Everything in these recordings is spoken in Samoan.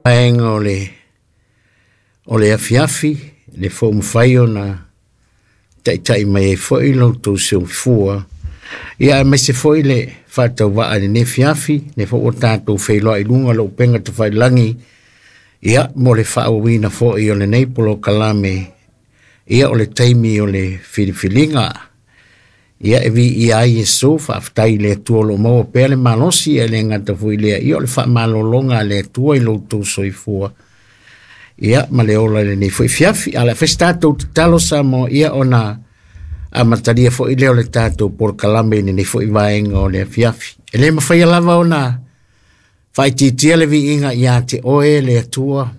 Vaega o le o le afiafi, le foi ua mafai ona taitai mai ai foi lo outou soifua, ia aemaise foi le faatauvaa i lenei afiafi, lea foi ua tatou feiloai i luga o le upega tafailagi, ia mo le faaauauina foi o lenei polokalame, ia o le taimi o le filifiliga. Ia e viia ai Iesu, faafetai i le Atua o lo o maua pea le malosi, ae le gata foi i lea, ia o le faamalologa a le Atua i lo outou soifua, ia ma le ola i lenei foi afiafi. Ae o le a fai se tatou tatalo Samoa, ia ona amatalia foi lea o le tatou polokalame i lenei foi vaega o le afiafi. E le mafaia lava ona faaitiitia le viiga ia te oe le Atua,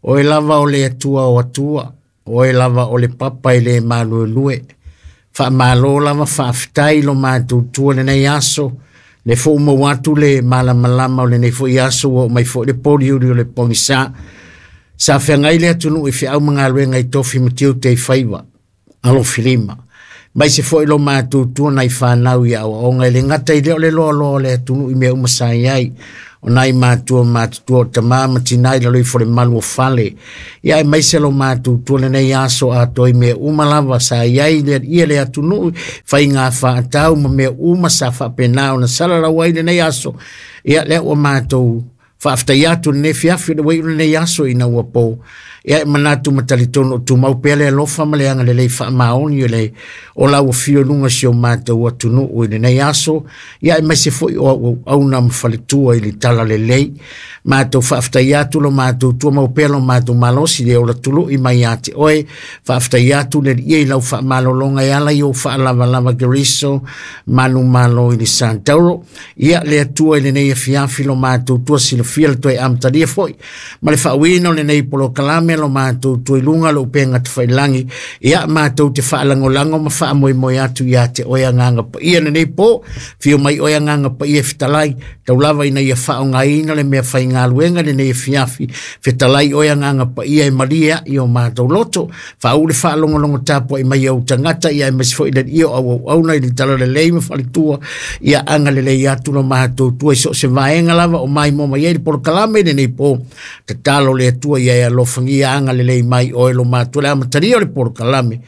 oe lava o le Atua o Atua, oe lava o le papa e le maluelue. Faamalo lava faafetai lo matou tua i lenei aso, le foi ua maua atu le malamalama o lenei foi aso, ua oo mai foi le poliuli o le pogisa. Sa feagai le atunuu i feau ma galuega i tofi ma tiute i faiva alofilima, aemaise foi lo matou tua nai fanau i aoaoga, e le gata i lea o le loaloa o le atunuu i mea uma sa i ai, o nai matua matutua o tama ma tina i lalo ifo o le malu o fale, ia aemaise lo matou tua lenei aso atoa i mea uma lava sa i ai le alii le atunuu, faiga faatau ma mea uma sa faapena ona salalau ai lenei aso. Ia lea ua matou faafetai atu i lenei afiafi, o le ua iu lenei aso ina ua po. Ia e manatu ma talitonu o tumau pea le alofa ma le agalelei faamaoni o le o lau afio i luga o si o matou atunuu i lenei aso, ia aemaise foi o auauauna ma faletua i le talalelei. Matou faafetai atu lo matou tumau pea lo matou malosi le ola tului mai ia te oe. Faafetai atu le Alii i lau faamalologa e ala i ou faalavalava Keriso manumalo i le Santauro. Ia le Atua i lenei afiafi lo matou tua silafia le toe amatalia foi ma le faauiina o lenei polokalame lo matou tua i luga o le upega tafailagi. Ia matou te faalagolago ma faamoemoe atu ia te oe Agaga Paia lenei po. Fio mai oe Agaga Paia e fetalai, tau lava ina ia faaaogaina le mea faigaluega i lenei afiafi. Fetalai oe Agaga Paia e malie ai o matou loto, faauu le faalogologo tapuai mai ou tagata, ia aemaise foi le Alii o auauauna i le talalelei ma faletua. Ia agalelei atu lo matou tua i so o se vaega lava o maimoa mai ai le polokalame i lenei po. Tatalo le Atua ia e alofagia agalelei mai oe lo matou le amatalia o le polokalame,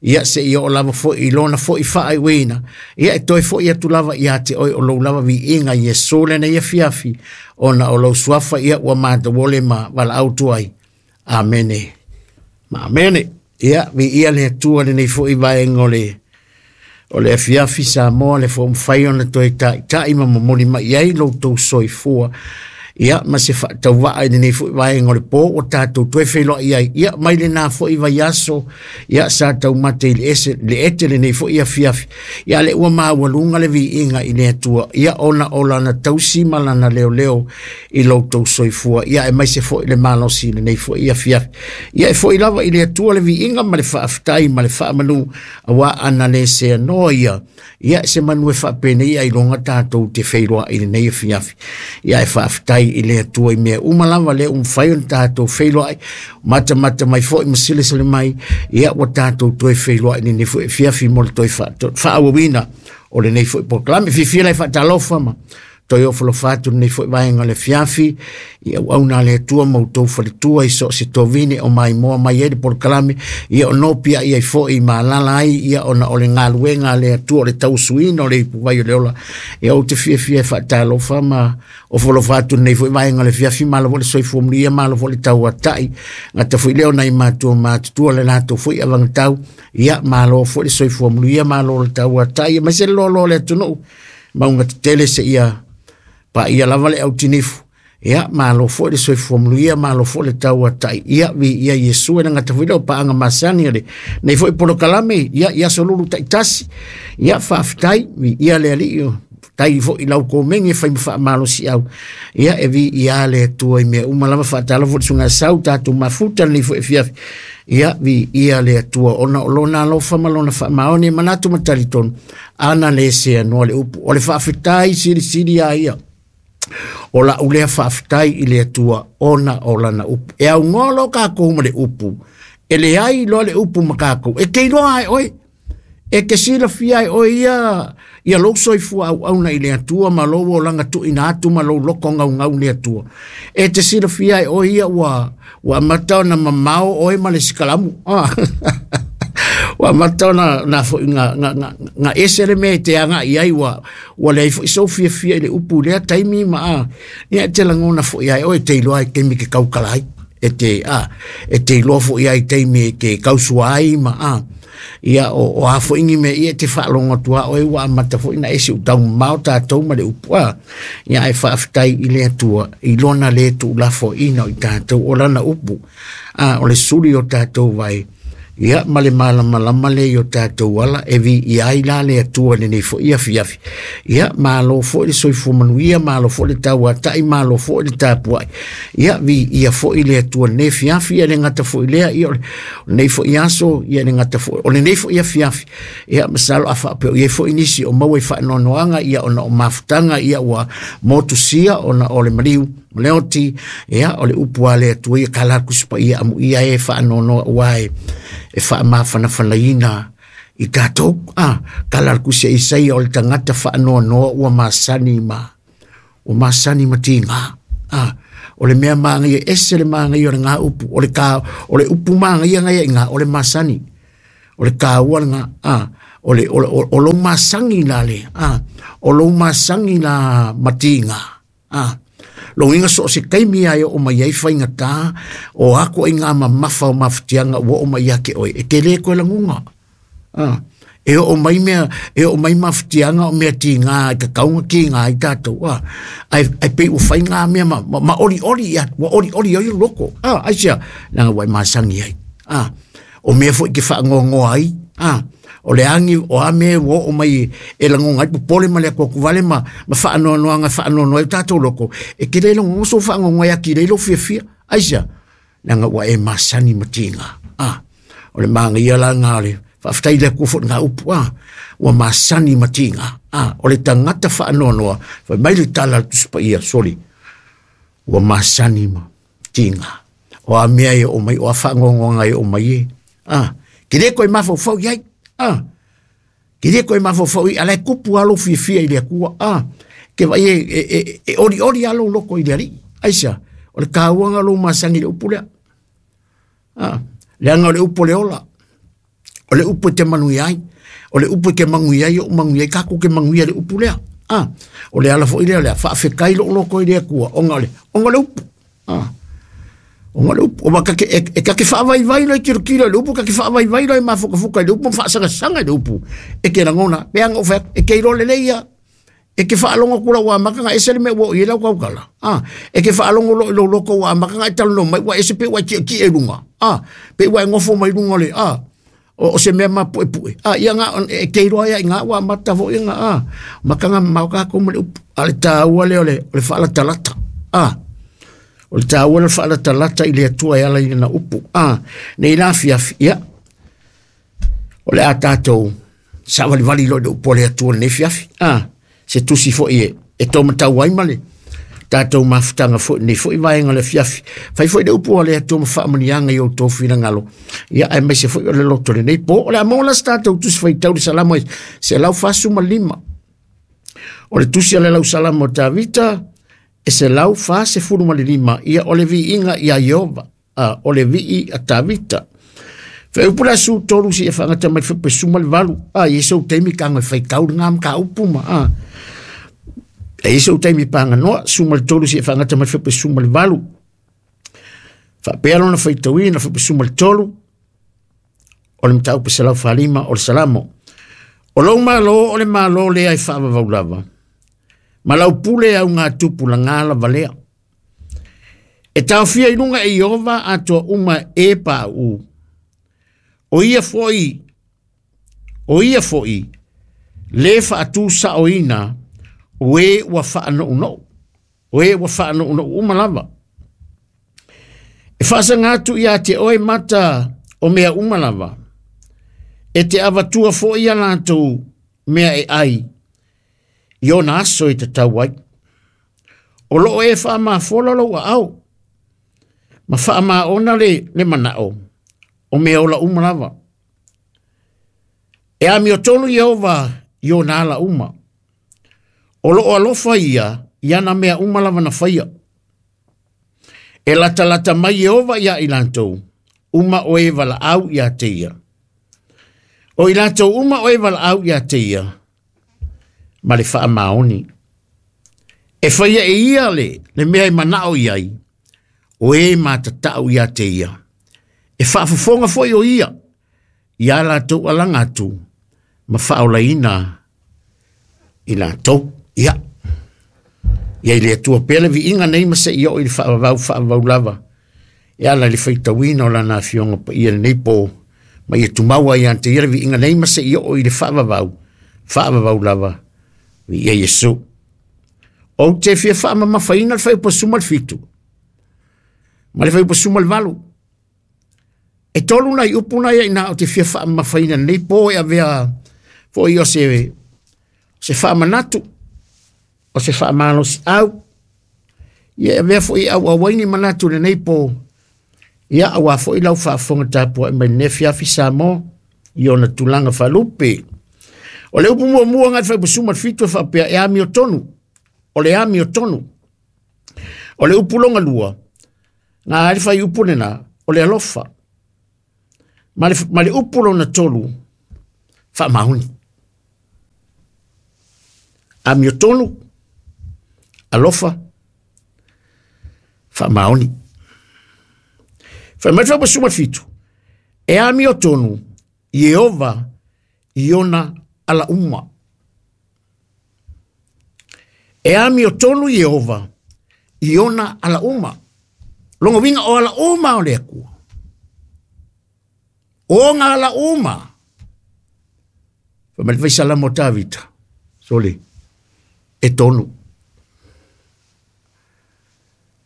ia se i oo lava foi i lona foi faaiuina, ia e toe foi atu lava ia te oe o lou lava viiga Iesu lenei afiafi, ona o lou suafa ia ua matou ole ma valaau atu ai. Amene ma amene. Ia viia le Atua lenei foi vaega o le o le afiafi Samoa, le foi mafai ona toe taitai ma momoli mai ai lo outou soifua, ia ma se faatauvaa i lenei foi vaega o le po ua tatou toe feiloai ai, ia mai lena foi vaiaso, ia sa taumate i le ese le ete lenei foi afiafi, ia le ua maualuga le viiga i le Atua, ia ona o lana tausi ma lana leoleo i lo outou soifua, ia aemaise foi le malosi i lenei foi afiafi. Ia e foi lava i le Atua le viiga ma le faafetai ma le faamanu, aua ana le seanoa ia, ia se manu e faapenei ailoga tatou te feiloai i lenei afiafi. Ia e faafetai i le Atua i mea uma lava lea ua mafai ona tatou feiloai, matamata mai foi ma silasila mai, ia ua tatou toe feiloai i lenei foi afiafi mo le toe faaauauina o lenei foi polokalame. Fiafia lai faatalofa ma toe ofolofa atu lenei foi vaega o le afiafi i auauna a le Atua ma outou faletua i so o se tovine o maimoa mai ai le polokalame, ia o nopiai ai foi ma alala ai, ia ona o le galuega a le Atua o le tausuina o le ipuvai o le ola. Ia ou te fiafia e faatalofa ma ofolofa atu lenei foi vaega o le afiafi, malo foi le soifua manuia, malo foi le tauatai, gata foi lea o nai matua matutua le latou foi avagatau, ia malo foi le soifua manuia, malo le tauatai, aemaise le loaloa o le atunuu mauga tetele seia paia lava le autinifu. Ia malo foi le soifua manuia, malo foi le tauatai, ia viia Iesu. E le gata foi lea o paaga masani o lenei foi polokalame, ia i aso lulu taitasi, ia faafetai, viia le Alii, faafetai foi i lau komeni e fai ma faamalosiau, ia e viia le Atua i mea uma lava. Faatalofa le susuga sau tatou mafuta lenei foi afiafi, ia viia le Atua ona o lona alofa ma lona faamaoni. E manatu ma talitonu ana le seanoa le upu o le faafetai silisili a ia o lau lea faafetai i le Atua ona o lana upu. E aunoa loa kākou ma le upu, e leai loa le upu ma kākou, e te iloa ai oe. E te silafia e oe ia ia lou soifua auauna i le Atua ma lou olaga tuuina atu ma lou loto gaugau i le Atua. E te silafia e oe ia ua ua amata ona mamao oe ma le sikalamu. Ah. Ua amata ona na foi na na na, na ese le mea e te agai ai ua ua leai foi sou fiafia i le upu i lea taimi ma a ia e te lagona foi ai oe te iloa i taimi ke taukala ai e te a e te iloa foi ai taimi e te tausua ai ma a ia o, o a foi ni mea ia e te faalogo atu a oe ua amata foi na ese u taumamao tatou ma le upu a ia ae faafetai i le Atua i lona le tuulafoaiina o i tatou o lana upu a o le suli o tatou vai ia ma le malamalama lea i o tatou ala e viia ai la le Atua i lenei foi afiafi. Ia, malo foi le soifua manuia, malo foi le tauatai, malo foi le tapuai. Ia, viia foi le Atua i lenei afiafi, ia le gata foi lea, ia o lenei foi aso, ia le gata foi, o lenei foi afiafi. Ia, masalo a faapea o i ai foi nisi o maua i faanoanoaga, ia ona o mafutaga, ia ua motusia ona o le maliu, ma le oti, ia, o le upu a le Atua ia ka la Tusi Paia amuia e faanoanoa ua e, e faamafanafanaina i tatou. Ah, ka la Tusi a Isaia o le tagata faanoanoa ua masani ma, ua masani ma tiga. Ah, o le mea māngaia, ese le māngaia o le ngā upu, o le, ka, o le upu māngaia ngai i ngā, o le masani. O le kāua le ngā, ah, o le, o, o, o lou masangi la le, ah, o lou masangi la matiga. A, logiga so o se taimi a e oo mai ai faigata, o a ituaiga mamafa o mafatiaga ua oo mai ia te oe, e tele koe laguga. A, e oo mai mea, e oo mai mafatiaga o mea tiga e tatau ona tiga ai tatou, a, ae, ae pei ua fai ngā mea ma, ma, ma olioli ia, ua olioli ai lou loto. A, aisea? Leaga ua e masani ai. A, o mea foi e te faanoanoa ai, a, o le agi o a mea ua oo mai e lagona ai popole ma le atuatuvale ma, ma faanoanoaga e faanoanoa ai o tatou loto, e te le lagona sou faanoanoa e atili ai lou fiafia. Aisea? Leaga ua e masani ma tiga. A, o le manaia la lena o le faafetai i le Atua foi i lena upu, a, ua masani ma tiga. A, o le tagata faanoanoa, fai mai le tala a le Tusi Paia, soli, ua masani ma tiga. O a mea e oo mai, o a faanoanoaga e oo mai e. A, ke le koe mafaufau i ai. A, ke le koe mafaufau i, ala e kupu lava lou fiafia i le Atua. A, ke vaai e, e, e, e olioli lava lou loto i le Alii. Aisea? O le tāua lena o lou masani i le upu lea. A, leaga o le upu o le ola. O le upu e te manuia ai. O le upu e te manuia ai, ou manuia ai, tatou te manuia i le upu lea. A, o le ala foi lea o le a faafetai lou loto i le Atua, ona o le, ona o le upu. A, ona o le upu. Aua ta te, e, e ta te faavaivai loa e tilotilo i le upu, ta te faavaivai loa e mafukafuka i le upu ma faasagasagasaga i le upu. E te lagona, pei lava ona ou fai atu, e te iloa lelei lava. E te faalogo atu lau amata na ese le mea ua oo i ai lau tautala. A, e te faalogo loa i lou loto ua amata ona e talanoa mai ua ese pei ua e tietie i luga. A, pei ua e nofo mai luga o le, a, o, o se mea mapuepue. A, ia na, e te iloa ai lava i ina ua amata foi ona, a, mataga mamao tatou ma le upu. A o le taua lea o le, o le faalatalata. A, o le taua lea o le faalatalata i le Atua e ala i lana upu. A, nei la afiafi, ia, o le a tatou saavalivali loa i le upu a le Atua i lenei afiafi. A, se tusi foi e, e taumatau ai ma le tatou mafutaga foi i lenei foi vaega o le afiafi. Fai foi le upu a le Atua ma faamanuiaga i outou finagalo, ia aemaise foi o le loto i lenei po. O le a maua la se tatou tusi faitau i le Salamo e 145. O le tusi a le Lausalamo a Tavita e 145, ia o le viiga ia Ieova. A, o le vii a Tavita. Fai upu le asu tolu si e whangata mai whipe suma le valu. A, i sou taimi ka ngoi whaitau le ngā mka upu ma. A, e i sou taimi pānga noa, suma le tolu si e whangata mai whipe suma le valu. Whaapea lona whaitauina whipe suma le tolu, o le mataupu 145 o le Salamo. O lou malo o le malo lea e whaavavau lava. Ma lau pule au ngā tupu la ngā lava lea. E taofia i luga e Ieova atoa uma e pauu. O ia foi, o ia foi, le faatusaoina o e ua faanounou, o e ua faanounou uma lava. E faasaga atu ia te oe mata o mea uma lava, e te avatua foi ia latou mea e ai, i ona aso e tatau ai. O loo e faamafola lou aao, ma faamaona le, le manao, o mea ola uma lava. E amiotonu Ieova i ona ala uma. O loo alofa ia i ana mea uma lava na faia. E latalata mai Ieova ia i latou uma o e valaau ia te ia. O i latou uma o e valaau ia te ia, ma le faamaoni. E faia e ia le mea e manao i ai, o e matatau ia te ia. E faafofoga foi o ia, ia latou alaga atu, ma faaolaina i latou. Ia, ia i le Atua pea le viiga nei ma se i oo i le faavavau faavavau lava, e ala i le faitauina o lana afioga paia lenei po, ma ia tumau ai ia te ia le viiga nei ma se i oo i le faavavau faavavau lava, viia Iesu. Ou te fia faamamafaina le fuaiupu 17 ma le fuaiupu 18. E tolu nai upu na ia ina o te fia faamamafaina nei po e avea foi o se faamanatu, o se faamalosi au. Ia e avea foi au auaini manatu lenei po, ia aua foi lau faafofoga tapuai mai lenei afiafi Samoa i ona tulaga faalupe. O le upu muamua ngai fuaiupu 17 e faapea e amiotonu, o le amiotonu. O le upu longa lua, ngā ai le fuaiupu lena, o le alofa. Ma le upu lona tolu, faamaoni. Amiotonu, alofa, faamaoni. Fai mai le fuaiupu 17, e amiotonu Ieova i ona ala uma. E amiotonu Ieova i ona ala uma. Longa winga o ala uma o le Atua. O ngā ala uma. Fai mai le faisalamo o Tavita. Sole, e tonu.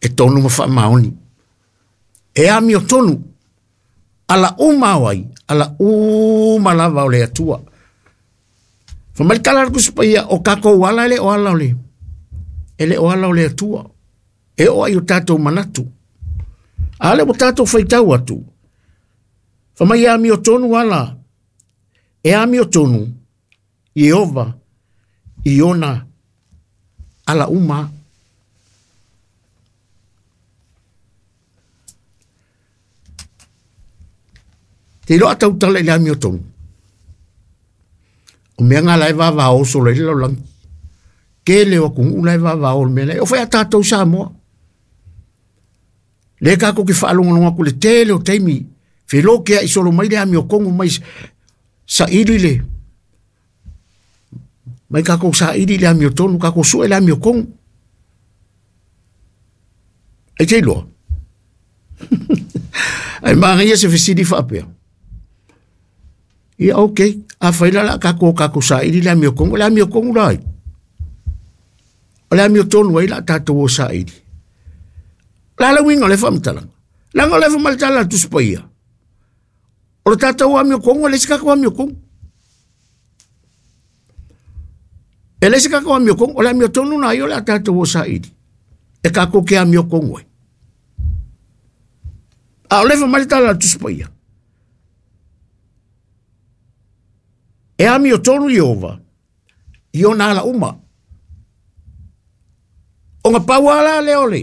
E tonu ma faamaoni. E amiotonu. Ala uma o ai, ala uma lava o le Atua. Fai mai le tala a le Tusi Paia, o tatou ala e le o ala o le, e le o ala o le Atua. E oo ai o tatou manatu. A le ua tatou faitau atu. Fai mai e amiotonu ala, e amiotonu Ieova i ona ala uma. Te iloa tautala i le amiotonu. O mea ngā lae vavao solo i le lalolagi. Tele o atunuu lae vavao o le mea lea. O fai a tatou Samoa. Le tatou te faalogologo atu le tele o taimi. Felo ke ai solo mai le amiotonu mai saili le. Mai tatou saili le amiotonu, tatou sue le amiotonu. Ai te iloa. Ai maangaia se fesili faapea. Ia, ok. A fai la la tatou saili le amiotonu. O le amiotonu la ai. O le amiotonu ai la tatou o saili. La le uiga o le faamatalaga. Leaga o le faamatalaga a le Tusi Paia. O le tatou amiotonu, e le se tatou amiotonu. E le se tatou amiotonu, o le amiotonu na ai o le a tatou o saili. E tatou ke amiotonu ai. A o le faamatalaga a le Tusi Paia. E amiotonu Ieova i ona ala uma. O ngā pau ala le ole.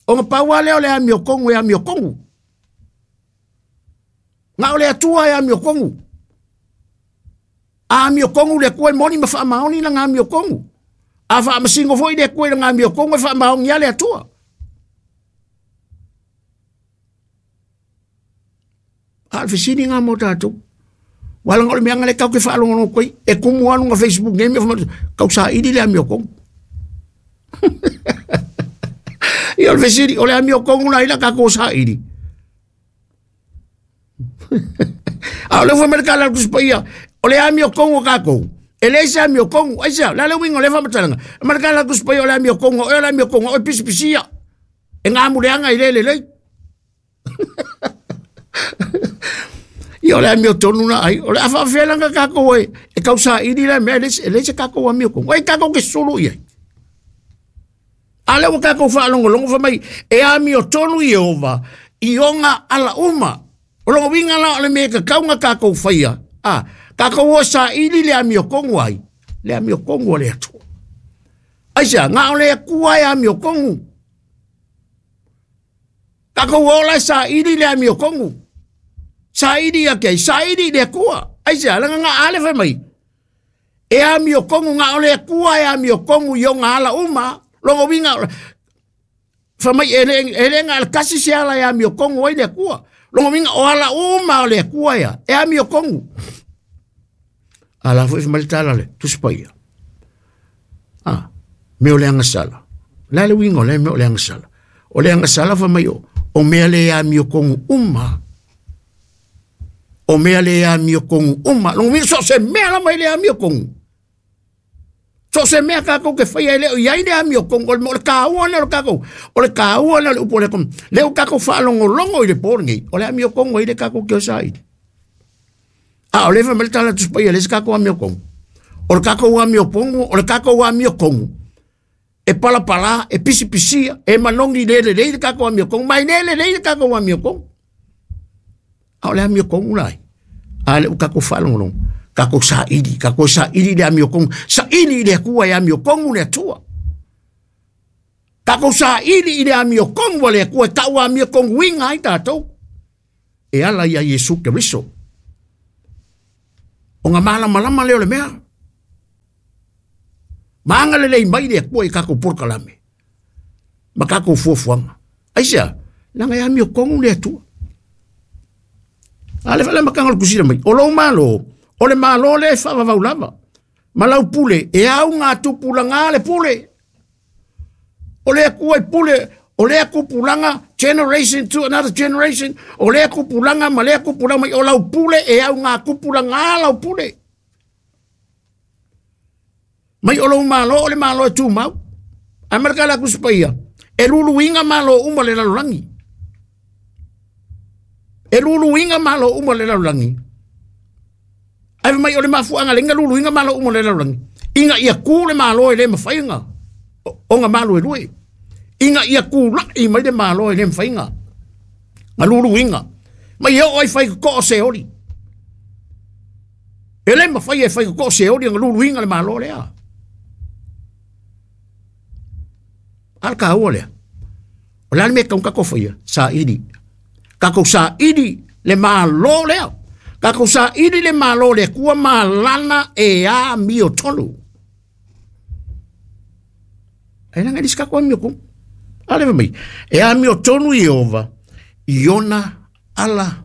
O ngā pau ala le amiotonu e amiotonu. Ngā o le Atua e amiotonu. A amiotonu le Atua e moni ma faamaoni la ngā amiotonu. A faamasingo foi le Atua i la ngā amiotonu e faamaoni a le Atua. A le fesili ngā mō tātou. Wala ngā o le mea ngā le kau ke whaalongono koe. E kumu anu ngā Facebook nei mea whamatu. Kau saili le amiotonu. Ia o le fesili, o le amiotonu na ila kako saili. A o le ufai mai le tala a le Tusi Paia, o le amiotonu o kākou. E le se amiotonu, ai sea, la le uiga o le faamatalaga. Ma le tala a le Tusi Paia o le amiotonu, o le amiotonu, o e pisipisia. E ngā muleanga i le lelei. Ia o le amiotonu na ai, o le a faafealanga kākou e kau saili le mea, e le se kākou amiotonu. Ai kākou ke sulu i ai. A le ua kākou faalogologo fai mai, e amiotonu Ieova i ona ala uma. O longa winga la o le mea ka kaunga kākou whaia. A, Tatou o saili le amiotogu ai, le amiotogu o le Atua. Aisea, na o le Atua e amiotogu. Tatou o la e saili le amiotogu. Saili ia te ai, saili i le Atua. Aisea, leaga na ale fai mai, e amiotogu, na o le Atua e amiotogu i ona ala uma. Lona uiga, fai mai, e le na o le tasi se ala e amiotogu ai le Atua. Lona uiga, o ala uma o le Atua ia, e amiotogu. A la foi fai mai le tala le Tusi Paia. A, mea o le agasala. La le uiga o le mea o le agasala. O le agasala fai mai o mea le amiotogu uma. O mea le amiotogu uma. Lona uiga, so o se mea lava i le amiotogu. So o se mea kākou ke whaia e leo iai le amiotogu. O le kāua na o le kākou. O le kāua na o le upu o le komu. Leo kākou whaalongolongo i le pōrengei. O le amiotogu ai le kākou ke o saili. A o le fai mai le tala Tusi Paia le se kākou amiotogu. O le kākou amiotogu, o le kākou amiotogu. E palapala, e pisipisia, e manogi le lelei le kākou amiotogu. Mai le lelei le kākou amiotogu. A o le amiotogu lai. A le u kākou whaalongolongo. Kākou saili le amiotogu. Saili i le Atua e amiotogu le Atua. Kākou saili i le amiotogu a le Atua e tau amiotogu inga ai tātou. E ala ia Iesu Keriso. O ngā malamalama leo le mea. Maanga le lei mai le Atua i kākou polokalame. Ma kākou fuafuaga. Aisea, leaga e amiotogu le Atua. A le whala makanga o le kusina mai. O lou malo, o le malo le e whaavavau lava. Ma lau pule, e au ngā tupulaga le pule. O le Atua i pule, o le tupulaga, generation to another generation. O le tupulaga ma lea tupulaga mai. O lau pule e au ngā tupulaga lau pule. Mai o lou malo, o le malo e tūmau. Ai maraka la Tusi Paia, e luluiga malo uma le lalolagi. E luluiga malo uma le lalolagi. Ai mai o le mafuanga le inga luluiga malo uma le lalolagi. Inga ia ku le malo e le mawhainga. O ngā malo e lue. Inga ia ku lai mai le malo e le mawhainga. Ngā luluiga. Mai e o ai whai ko o se ori. E le mawhai e whai ko o se ori ngā luluiga le malo lea. Al ka ua lea. O le mea kaunga kako whaia, saili. Kako saili le malo lea. Kako saili le malo lea, kua malana e a mio tonu. E langa elis kako amio ku. Ale mai. E a mio tonu i ova, i ona ala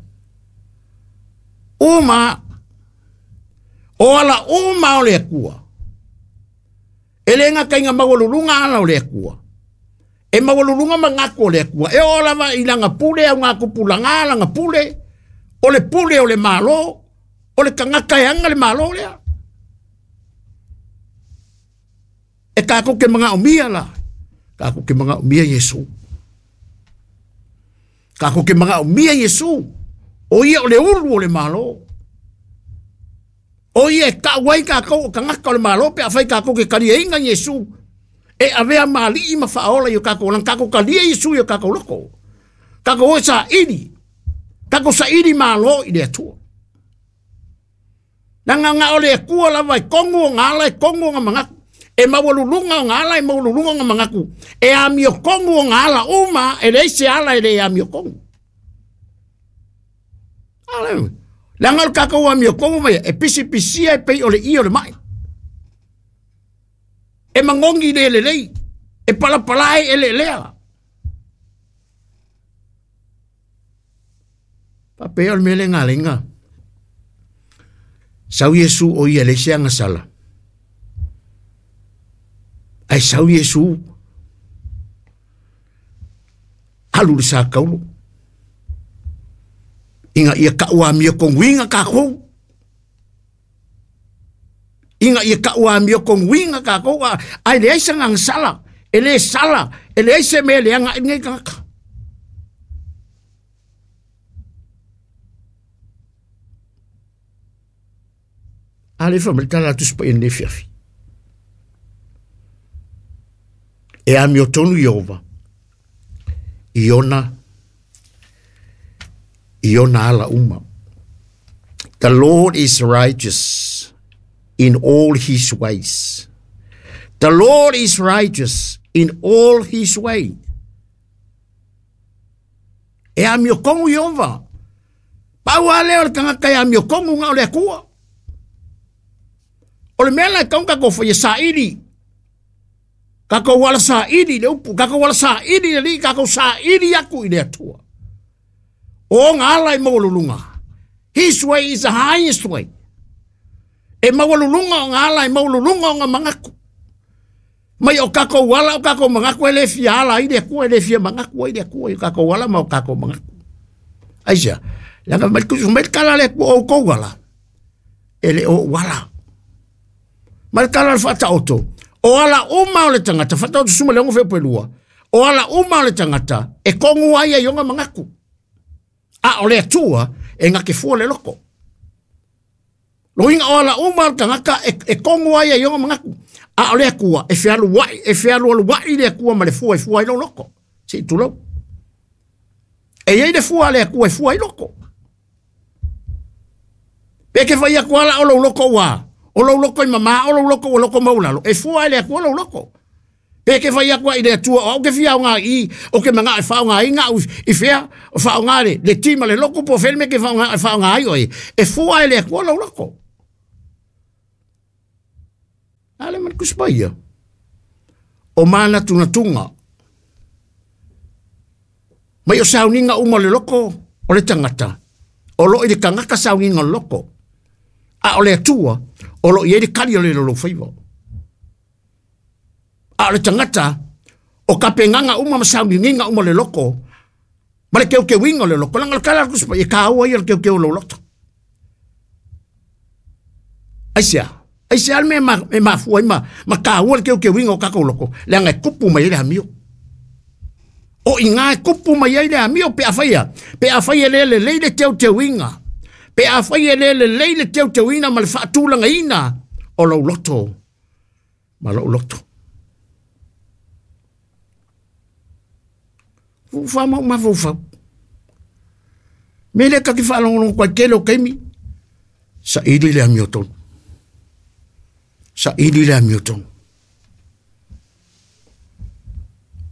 uma. O ala uma o le kua. E le ngā kainga maualulunga ala o le Atua. E maualulunga mangaku o le Atua. E o lava i langa pule au ngā kupulanga langa pule. O le pule o le malo. O le kangaka e anga le malo lea. E kākou ke manga o mia la. Kākou ke manga o mia Iesu. Kākou ke manga o mia Iesu. O ia o le ulu o le malo. O ia e kau ai kākou o kangaka o le malo pe a whai kākou ke karia inga Iesu. E avea mali ma whaola i o kākou lan kākou karia Iesu i o kākou loko. Kākou oe saili. Kākou saili malo i le Atua. Nanga ngā o le Atua lava e kongu o ngā ala e kongu o ngā mangaku. E maualulunga o ngā ala e maualulunga o ngā mangaku. E amio kongu o ngā ala uma e leai se ala e le amio kongu. Ale. Leaga o le kākou amiotogu mai e pisipisia e pei o le i o le mai. E magogi le lelei. E palapala e ele lea. Pape o le mele ngā lenga. Sau Iesu o ia le se agasala. Ai sau Iesu alu le sa kaulu. Inga ia kau amio konguinga kākou. Inga ia kau amio konguinga kākou. Ai le aisa ngang sala. E le sala. E le aisa mea le anga ingai kaka. A le fa tala atu spa le fiafi. E amio tonu i ova. I ona ala uma. The Lord is righteous in all his ways. The Lord is righteous in all his way. E amiokongu Iova. Pau lava lea o le tagata e amiokongu na o le Atua. O le mea la e tatau ona tatou faia, saili. Tatou ala saili le upu, tatou ala saili le alii, tatou saili atu i le Atua. O ona ala e maualuluga. His way is the highest way. E maualuluga ona ala, e maualuluga ona manatu. Mai o tatou ala, o tatou manatu e le fia ala ai le Atua, e le fia manatu ai le Atua i o tatou ala ma o tatou manatu. Aisea? Leaga mai le mai le tala a le Atua o outou ala, e le o ou ala. Ma le tala o le faataoto, o ala uma o le tagata, faataoto suma le ono feupu e lua, o ala uma o le tagata, e kogu ai ai ona manatu. A o le Atua, e gake fua le loto. Loiga o ala uma o le tagata e, e kogu ai ai ona manatu. A o le Atua, e fealuai, e fealualuai le Atua ma le fua e fua ai lou loto. Se i tulou. E i ai le fua a le Atua e fua ai loto. Pe ke fai atu ala o lou loko ua, o lou loko i mamā, o lou loko ua loko maulalo, e fua ai le Atua lou loko. Pe ke fai atu ai le Atua, o au ke fia aoga i, o ke manao e faaaogaina au i fea, o faaaoga le, le ti ma le loku po o fea le mea ke faaaoga, e faaaoga ai oe, e fua ai le Atua lou loko. A le ma le Tusi Paia. O manatunatuga. Mai o sauniga uma o le loko o le tagata, o lo o i le tagata sauniga o le loko. A o le Atua, o lo o i ai le kali o le loloufaiva. A o le tagata, o tapenaga uma ma sauniuniga uma o le loko, ma le teuteuina o le loto. Leaga o le tala a le Tusi Paia, e taua ia le teuteu o lou loto. Aisea? Aisea le mea e mafua ai ma, ma taua le teuteuina o tatou loto? Leaga e tupu mai ai le amio. O i ina e tupu mai ai le amio pe afai a, pe afai e le lelei le teuteuina, pe afai e le lelei le teuteuina ma le faatulagaina o lou loto ma lou loto. Ua ma ou mafaufau. Me lea ta te faalogologo atu ai tele o taimi, saili le amiotonu. Saili le amiotonu.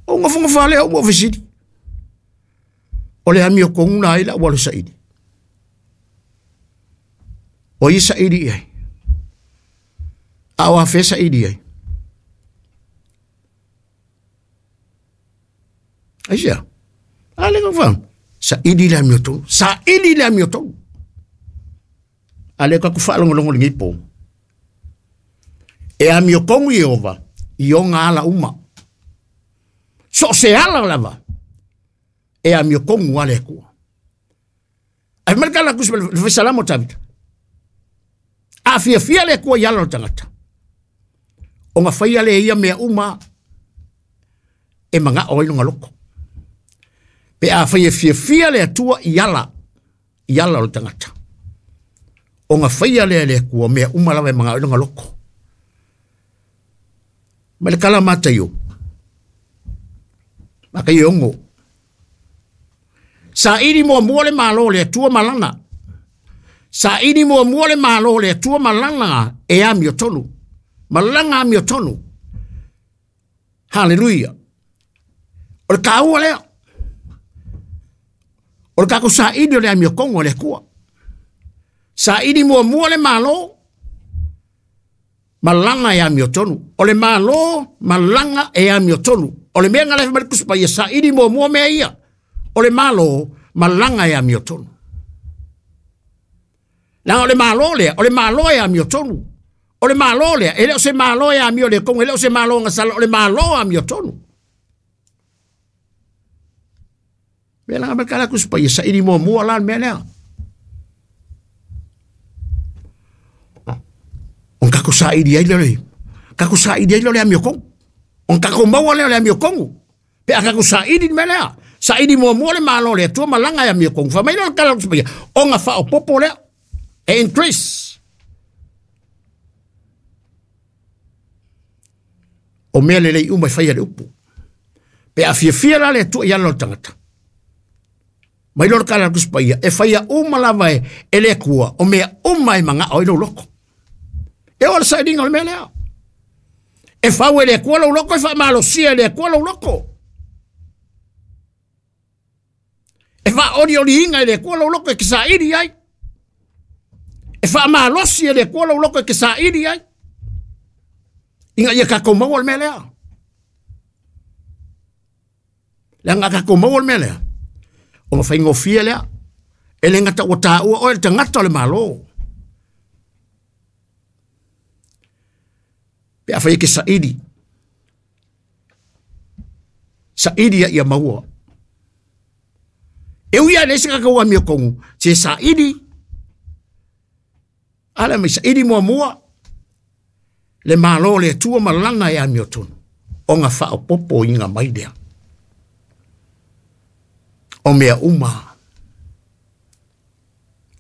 O nofonofo lava lea ua fesili. O le amiotonu la ai la ua le saili. O ia saili i ai. A o afea saili ai. Aisea? A le fa. Saili le amiotonu. Saili le amiotonu. A le ka ku faalogologo lenei po. E amiotonu Ieova i ona ala uma. So o se ala lava e amiotonu a le Atua. Ai mai le tala a le Tusi le fai Salamo o Tavita. A fiafia le Atua i ala o le tagata, ona faia lea e ia mea uma e manao ai lona loto. Pe a fai e fiafia le Atua i ala, i ala o le tagata, ona faia lea e le Atua mea uma lava e manao ai lona loto. Ma le tala a Mataio, Mataio e ono, Saili muamua le Malo o le Atua ma Lana. Saili muamua le Malo o le Atua ma Lana e amiotonu. Ma Lana amiotonu. Haleluia. O le taua lea. O le tatou saili o le amiotonu a le Atua. Saili muamua le Malo ma lana e amiotonu. O le Malo ma lana e amiotonu. O le mea na lefa mai le Tusi Paia, saili muamua mea ia. O le Malo ma lana e amiotonu. Leaga o le Malo lea, o le Malo e amiotonu. O le Malo lea, e le o se Malo e amio le kongo, e le o se Malo gasala, o le Malo amiotonu. Mea la mai kala Tusi Paia, saili muamua la le mea lea. Ona tatou saili ai lea o le, tatou saili ai lea o le amiotonu. Ona tatou maua lea o le amiotonu. Pe a tatou saili le mea lea. Saili muamua le Malo o le Atua ma lana e amiotonu. Fai mai lea o le tala o le Tusi Paia, ona faaopoopo lea, e increase. O mea lelei uma e faia le upu. Pe a fiafia la le Atua i ala o le tagata, Mai loa le tala a le Tusi Paia, e faia uma lava e, e le Atua o mea uma e magao ai lou loto. E oo le sailiga o le mea lea. E fau e le Atua lou loto, e faamalosia e le Atua lou loto. E faaolioliina e le Atua lou loto e te saili ai. E faamalosi e le Atua lou loto e te saili ai. Ina ia tatou maua le mea lea. Leaga a tatou maua le mea lea, ona faigofie lea. E le gata ua taua oe le tagata o le Malo. Pe afai e te saili, saili ia ia maua. E ui lava i leai se tatou amiotonu, se saili, ala mai saili muamua le Malo o le Atua ma lana e amiotonu, ona faaopoopoina mai lea o mea uma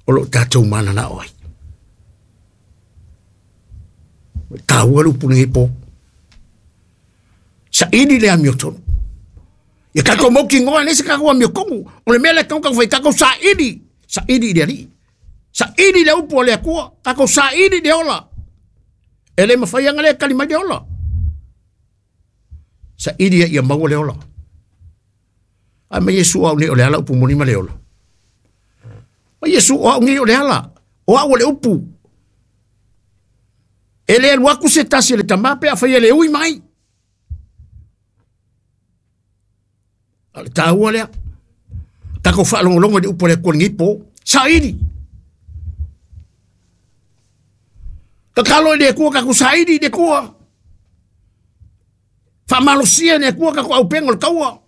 o lo o tatou mananao ai. E taua le upu lenei po. Saili le amiotonu. Ia tatou mautinoa e leai se tatou amiotonu. O le mea lea e tatau ona tatou fai, tatou saili, saili i le Alii. Saili le upu a le Atua, tatou saili le ola. E le mafai ona le tali mai le ola. Saili ia maua le ola. Ae mai Iesu o au nei o le ala upu moni ma le ola. Mai Iesu o au nei o le ala, o au o le upu. E le alu atu se tasi e le Tama pe afai e le ui mai. A o le taua lea. Tatou faalogologo i le upu a le Atua i lenei po. Saili. Tatalo i le Atua, tatou saili i le Atua. Faamalosia e le Atua tatou aupega o le taua.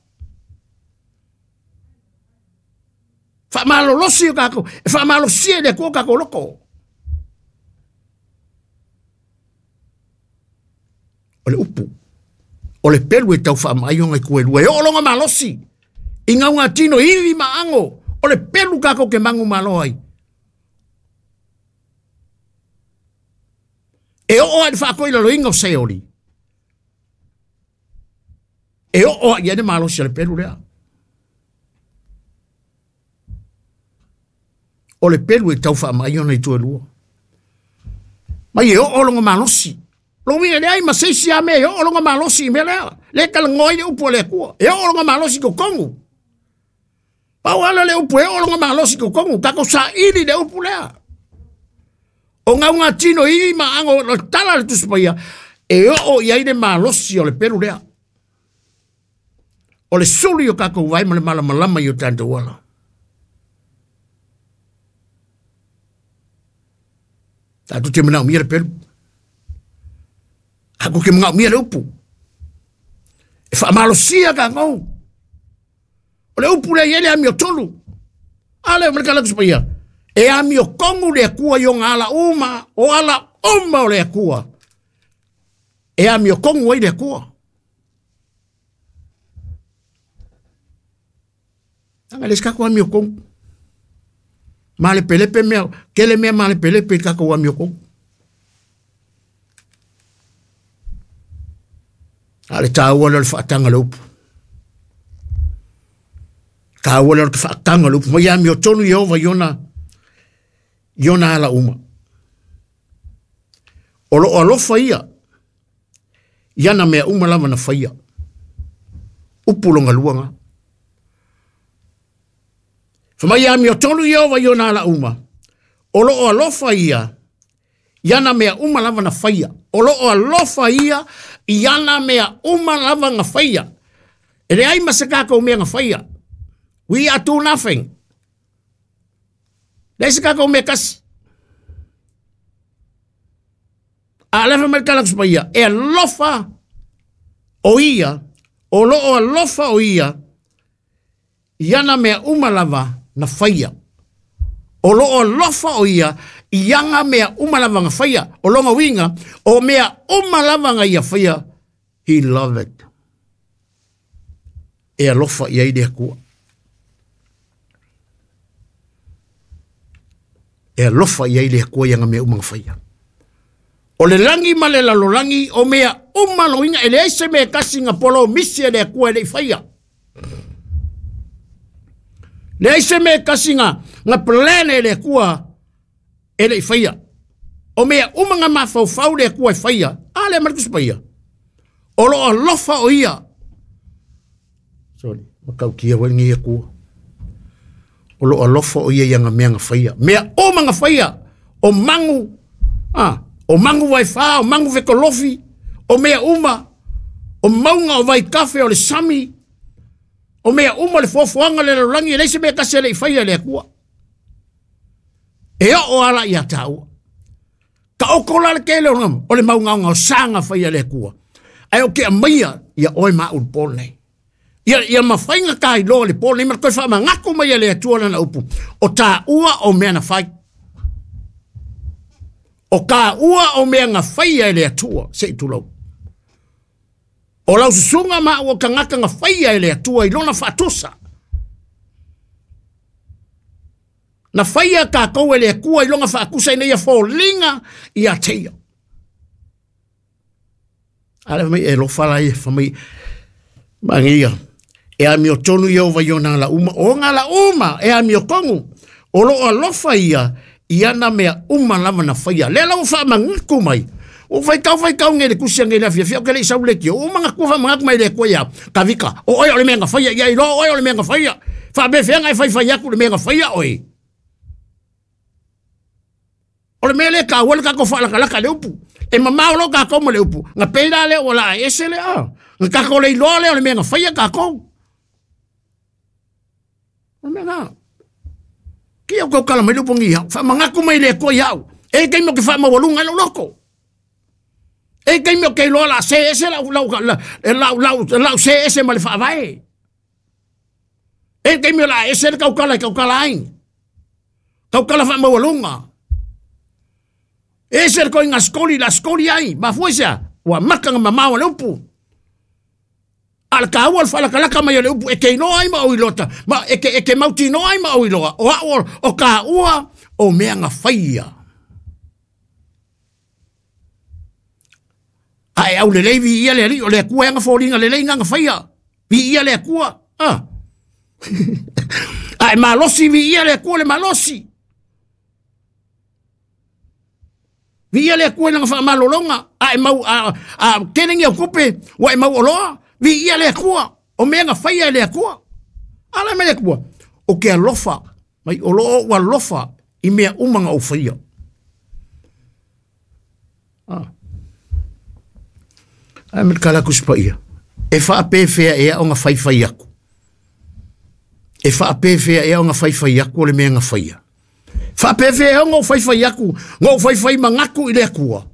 Faamalolosi o tatou, e faamalosia e le Atua o tatou loto. O le upu, o le pelu e tau faamaai ona itu e lua, e oo lona malosi i gaugatino ivi ma ago, o le pelu tatou te manumalo ai. E oo lava i le faatoilaloina o Seoli, e oo lava i ai le malosi o le pelu lea. O le pelu e tau faamaai ona itu e lua. Mai e oo lona malosi. Lona uiga e leai ma se isi lava mea e oo lona malosi i mea lea. Lea e talanoa ai le upu a le Atua. E oo lona malosi i totonu. Pau lava lea o le upu e oo lona malosi i totonu. Tatou saili le upu lea. O gaugatino i ma ago o le tala a le Tusi Paia, e oo i ai le malosi o le pelu lea. O le sulu i o tatou vae ma le malamalama i o tatou ala. Tatou te manaomia le pelu. Tatou te manaomia le upu. E faamalosia tatou. O le upu lea e i ai le amiotonu. A lea o le tala Tusi Paia. E amiotonu le Atua i ona ala uma, o ala uma o le Atua. E amiotonu ai le Atua. Leaga e le se tatou amiotonu. Malepelepe mea, tele mea malepelepe i le tatou amiotonu. A o le taua lea o le faataga o le upu. Taua lea o le faataga o le upu. Mai amiotonu Ieova i ona, i ona ala uma. O lo o alofa ia i ana mea uma lava na faia. Upu longa lua nga. Fa mai amiotonu Ieova i ona ala uma. O lo o alofa ia i ana mea uma lava na faia. O lo o alofa ia i ana mea uma lava na faia. E leai ma se tatou mea na faia. We are do nothing. Leai se tatou mea tasi. A alefa mai le tala Tusi Paia, e alofa o ia, o lo o alofa o ia i ana mea uma lava na faia. O lo o alofa o ia i ana mea uma lava na faia. O lona uiga, o mea uma lava na ia faia, he loved it. E alofa i ai le Atua. E alofa i ai le Atua i ana mea uma na faia. O le lagi ma le lalolagi, o mea uma loiga, e leai se mea e tasi na polomisi e le Atua e le i faia. Leai se mea e tasi na plan e le Atua e le i faia. O mea uma na mafaufau le Atua e faia, a lea ma le Tusi Paia. O lo o alofa o ia. Sorry, matautia foi lenei Atua. O lo o alofa o ia i ana mea na faia. Mea uma na faia, o magu, o magu vaifā, o magu fetolofi, o mea uma, o mauga o vaitafe, o le sami, o mea uma le foafoaga le lalolagi, e leai se mea tasi e le i faia e le Atua. E oo ala ia tāua. Ka oko la le tele o le maugaogaosa na faia e le Atua. Ae o ke aumaia ia oe ma au i le po lenei. Ia mafai ona ta iloa le po lenei ma le toe faamanatu mai e le Atua lana upu. O tāua o mea na fai. O tāua o mea na faia e le Atua, se i tulou. O lau susuga ma au o tagata na faia e le Atua i lona faatusa. Na faia tātou e le Atua i lona faatusa ina ia foliga ia te ia. A le mai e lofa la ia fa mai mangia. E amio tonu ia o vai o nā la uma. O ngā la uma e amio tonu. O lo alofa ia i ana mea uma lava na faia. Lea lau whaamangatu mai. O whaikau whaikau nge le kusia nge le afia fia o ke le isau le kio. O manga kua whaamangatu mai le kua ia. Ka vika. O oe o le mea nga faia. Ia iloa oe o le mea nga faia. Whaapefea e whai whai aku le mea nga faia oe. O le mea le ka ua le kako whaalakalaka le upu. E mamao lo kako ma le upu. Nga peira le o la ese le a. Nga kako le iloa le o le mea nga faia kako. O le mea nga. Ki au kau kala mai le upu ngi hau. Whaamangatu mai le kua iau. E kei mo ke whaamawalunga lau loko. E kei mo ke iloa la se ese lau lau lau lau lau se ese ma le whaavae. E kei mo la ese le kau kala kau kala ai. Kau kala whaamawalunga. E se le koinga skoli la skoli ai. Mafuesa ua maka nga mamao le upu. A le kāua le whaalakalaka mai o le upu e ke inoa ai ma o ilota. Ma e ke mauti noa ai ma o iloa. O au o kāua o mea nga whaia. A e au lelei vi ia le ali o le akua e nga fōlinga lelei nga nga whaia. Vi ia le akua. A e malosi vi ia le akua le malosi. Vi ia le akua i langa whaamalolonga. A e mau a kelengi au kupe wa e mau oloa. Vi ia le akua. O mea nga whaia e le akua. Ala me le akua. O ke alofa. Mai o loo o alofa i mea umanga o whaia. Ai me kala kuspa ia. E whaapewhea ea o nga whaiwhai aku. E whaapewhea ea o nga whaiwhai aku o le mea nga whaia. Whaapewhea ea o nga whaiwhai aku. Nga whaiwhai mangaku i le akua.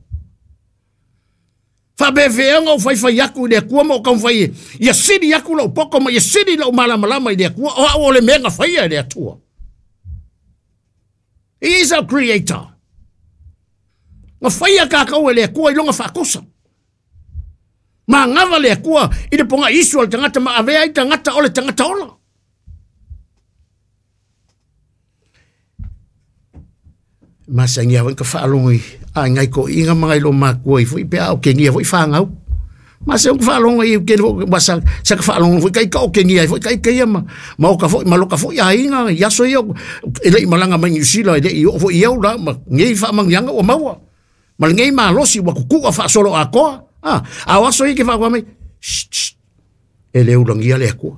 Whaapewhea ea o nga whaiwhai aku i le akua ma o kau whai e. Ia siri aku lau poko ma ia siri lau malamalama i le akua. O au o le mea nga whaia i le atua. He is our creator. Nga whaia kākau e le akua i longa whaakosa. Ma ngawa le akua i le ponga isu al tangata ma avea i tangata o le tangata ola. Masangia wai ka whaalongo i a ngai ko inga mangai lo makua i fui pe au ke ngia fui whangau. Masa ka whaalongo i ke masa sa ka whaalongo fui kai ka o ke ngia fui kai kai ma ma o ka fui maloka fui a inga ia so ia e le malanga mai New Zealand e le i o fui iau la ma ngei whaamangianga o maua. Ma ngei malosi wa kukua whaasolo a koa. A waso i ke whaakua mai shh, shh, e le ulangia le akua.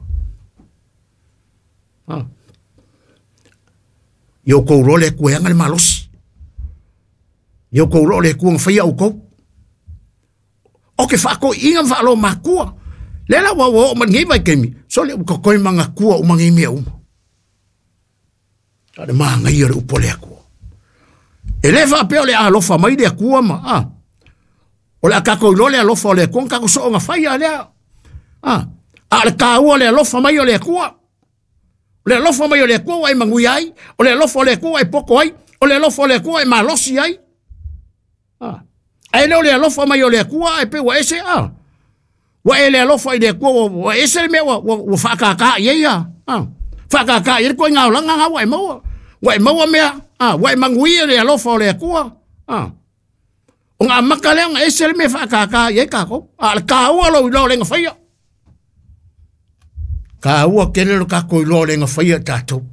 I o kou le akua e anga le malosi. I o kou le akua nga whaia au kou. O ke whaako inga whaalo makua. Le la wa wa o man ngei vai kemi. So le uka koi manga kua o mangi mea uma. A le maanga ia le upo le akua. E le whaapea o le alofa mai le akua ma. O le akako ilo le alofa o le akua, kako so o nga whaia lea. A le kāua le alofa mai o le akua. O le alofa mai o le akua wa e mangui ai. O le alofa o le akua e poko ai. O le alofa o le akua e malosi ai. A ele o le alofa mai o le akua e pe wa ese a. Wa ele alofa i le akua wa ese le mea wa whaakaka i ia. Whaakaka i le koe ngā olanga ngā wa e maua. Wa e maua mea. Wa e mangui le alofa o le akua. O ngā maka lea ngā ese le mea whaakaka i e kako. A le kāua lo i lo le ngā whaia. Kāua kele lo kako i lo le ngā whaia tātou.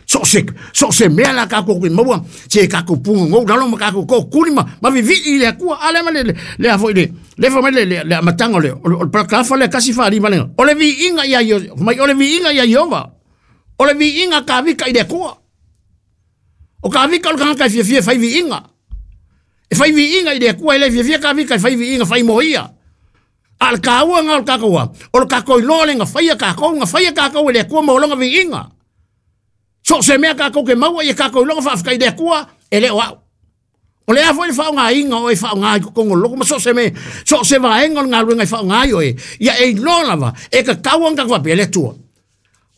So o se mea la kākou ke maua, se kākou pugogou lalo ma kākou toʻotuli ma viviʻi i le Atua. A lea ma le lea foi le fa mai le amataga o le palakalafa lea 145 lega. O le viiga ia mai, o le viiga ia Iova. O le viiga kavika i le Atua. O kavika o le tagata e fiafia e fai viiga. E fai viiga i le Atua, e le fiafia kavika e fai viiga fai mo ia. A le kāua nga o le kākou a, o le kākou iloa le gafaia kākou, gafaia kākou e le Atua ma o lona viiga. So o se mea kākou ke maua ia kākou iloga faafetai i le Atua, e le o au. O le a foi le faaaogaina o e faaaoga i totonu o le loto ma so o se mea, so o se vaega o le galuega e faaaoga ai oe, ia e iloa lava, e tatau ona tatou faapea le Atua.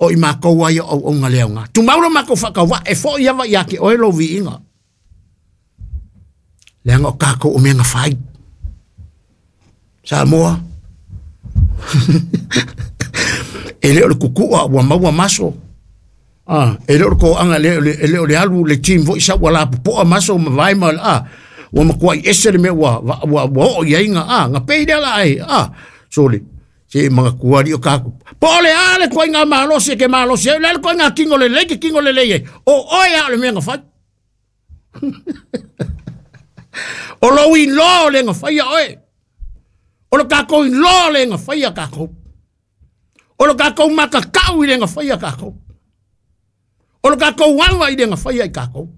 O i matou ai o auauna le aoga. Tumau lo matou faatauvaa e foi ava ia te oe lou viiga. Leaga o tatou o mea na fai. Samoa. E le o le kukua ua maua maso. Ah, e le o le toaga, e le o le alu le team foi sa ua lapopoa maso ma vae ma ua matuai ese le mea ua oo i ai ga pei lea la ai sole se magatua li o kākou. Po o le a le koiga malosi e ke malosi ai, o le a le koiga tino lelei ke tino lelei ai. O oe a o le mea na fai. O lou iloa o le gafaia oe. O le kākou iloa o le gafaia kākou. O le kākou makakau i le gafaia kākou. O le kākou ava i le gafaia i kākou.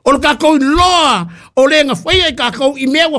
O le kākou iloa o le gafaia i kākou i mea ua.